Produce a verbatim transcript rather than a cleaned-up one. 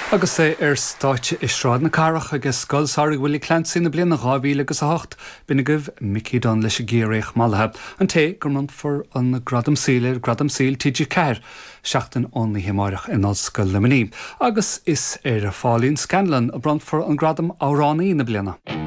Agus é ar stáitse i Sráid na Cathrach ag Scoil Samhraidh Willie Clancy na bliana dhá mhíle agus a hocht, b'in agaibh Mickey Dunne leis an gCiarraíoch Mallaithe, an té go mbronnfar an Gradam Saoil ar Gradam Saoil TG Ceathair seachtain ón oíche amárach in Ollscoil Luimnigh, agus is ar Pháilín Scanlon a bronnfar an Gradam Amhránaí na bliana.